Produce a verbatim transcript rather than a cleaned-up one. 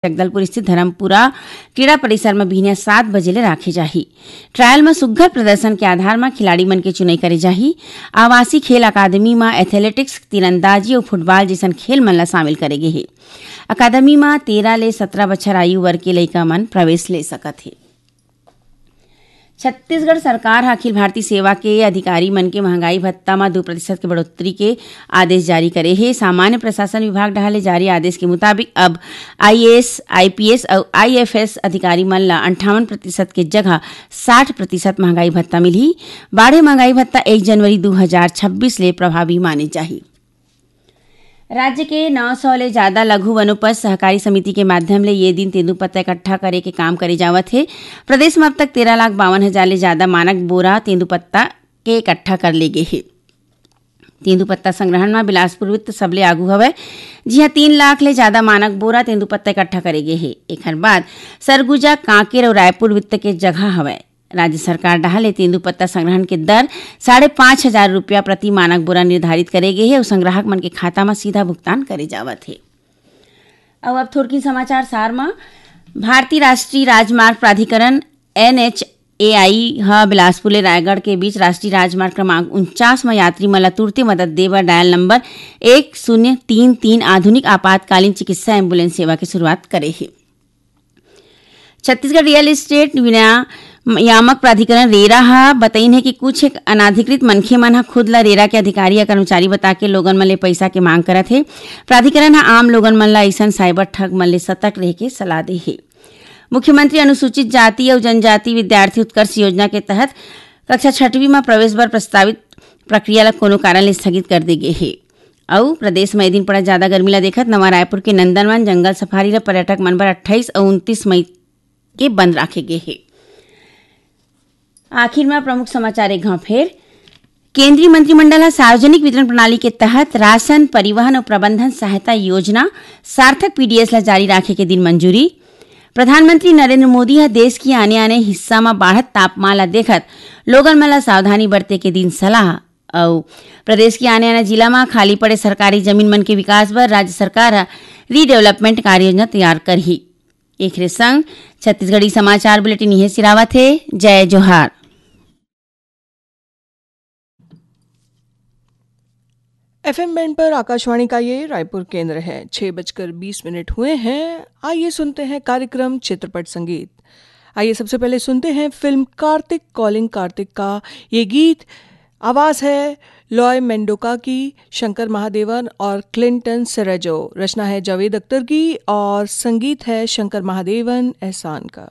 जगदलपुर स्थित धर्मपुरा क्रीड़ा परिसर म बिहनिया सात बजे ले राखे जाही। ट्रायल म सुग्घर प्रदर्शन के आधार म खिलाड़ी मन के चुनई करे जाही। आवासीय खेल अकादमी म एथलेटिक्स, तीरंदाजी अउ फुटबॉल जइसन खेल मन ल शामिल करे गे हे। अकादमी म तेरह ले सत्रह बछर आयु वर्ग के लइका मन प्रवेश ले सकत हे। छत्तीसगढ़ सरकार ह अखिल भारतीय सेवा के अधिकारी मन के महंगाई भत्ता म दू प्रतिशत के बढ़ोतरी के आदेश जारी करे हे। सामान्य प्रशासन विभाग डहार ले जारी आदेश के मुताबिक अब आईएएस, आईपीएस अउ आईएफएस अधिकारी मन ल अंठावन प्रतिशत के जगह साठ प्रतिशत महंगाई भत्ता मिलही। बाढ़े महंगाई भत्ता एक जनवरी दू हजार छब्बीस ले प्रभावी माने जाही। राज्य के नौ सौ ले ज्यादा लघु वनोपज सहकारी समिति के माध्यम ले ये दिन तेंदूपत्ता इकट्ठा करे के काम करे जावत हे। प्रदेश म अब तक तेरह लाख बावन हजार ले ज्यादा मानक बोरा तेंदूपत्ता के इकट्ठा कर ले गे हे। तेंदूपत्ता संग्रहण म बिलासपुर वृत्त सबले आगू हवय, जिहां तीन लाख ले ज्यादा मानक बोरा तेंदूपत्ता इकट्ठा करे गे हे। एखर बाद सरगुजा, कांकेर अउ रायपुर वृत्त के जगह हवय। राज्य सरकार डहार ले तेंदूपत्ता संग्रहण के दर साढ़े पाँच हजार रुपया प्रति मानक बोरा निर्धारित करे गे हे अउ संग्राहक मन के खाता म सीधा भुगतान करे जावत हे। अउ अब थोरकिन समाचार सार म, भारतीय राष्ट्रीय राजमार्ग प्राधिकरण, एनएचएआई, ह बिलासपुर ले रायगढ़ के बीच राष्ट्रीय राजमार्ग क्रमांक उनचास म यात्री मन ल तुरते मदद दे बर डायल नंबर एक शून्य तीन तीन आधुनिक आपातकालीन चिकित्सा एम्बुलेंस सेवा के शुरुआत करे हे। छत्तीसगढ़ रियल एस्टेट विनियामक प्राधिकरण, रेरा, ह बतइन हे कि कुछ एक अनाधिकृत मनखे मन ह खुद ल रेरा के अधिकारी या कर्मचारी बता के लोगन मन ले पइसा के मांग करत हे। प्राधिकरण ह आम लोगन मन ल अइसन साइबर ठग मन ले सतर्क रहे के सलाह दे हे। मुख्यमंत्री अनुसूचित जाति अउ जनजाति विद्यार्थी उत्कर्ष योजना के तहत कक्षा छठवीं म प्रवेश बर प्रस्तावित प्रक्रिया ल कोनो कारण ले स्थगित कर दे गे हे। अउ प्रदेश म ए दिन पड़त जादा गर्मी ल देखत नवा रायपुर के नंदनवन जंगल सफारी ल पर्यटक मन बर अट्ठाईस अउ उनतीस मई के बंद राखे गे हे। आखिर म प्रमुख समाचार एक घांव फेर। केंद्रीय मंत्रिमंडल ह सार्वजनिक वितरण प्रणाली के तहत राशन, परिवहन अउ प्रबंधन सहायता योजना सार्थक पीडीएस ल जारी राखे के दिन मंजूरी। प्रधानमंत्री नरेंद्र मोदी ह देश के आने-आने हिस्सा म बाढ़त तापमान ल देखत लोगन मन ल सावधानी बरते के दिन सलाह। अउ प्रदेश के आने-आने जिला म खाली पड़े सरकारी जमीन मन के विकास बर राज्य सरकार ह रीडेवलपमेंट कार्ययोजना तैयार करही। एखरे संग छत्तीसगढ़ी समाचार बुलेटिन इहे सिरावत हे। जय जोहार। एफएम बैंड पर आकाशवाणी का ये रायपुर केंद्र है। छह बजकर बीस मिनट हुए हैं। आइए सुनते हैं कार्यक्रम चित्रपट संगीत। आइए सबसे पहले सुनते हैं फिल्म कार्तिक, कॉलिंग कार्तिक का ये गीत। आवाज़ है लॉय मेंडोका की, शंकर महादेवन और क्लिंटन सेरेजो। रचना है जावेद अख्तर की और संगीत है शंकर महादेवन एहसान का।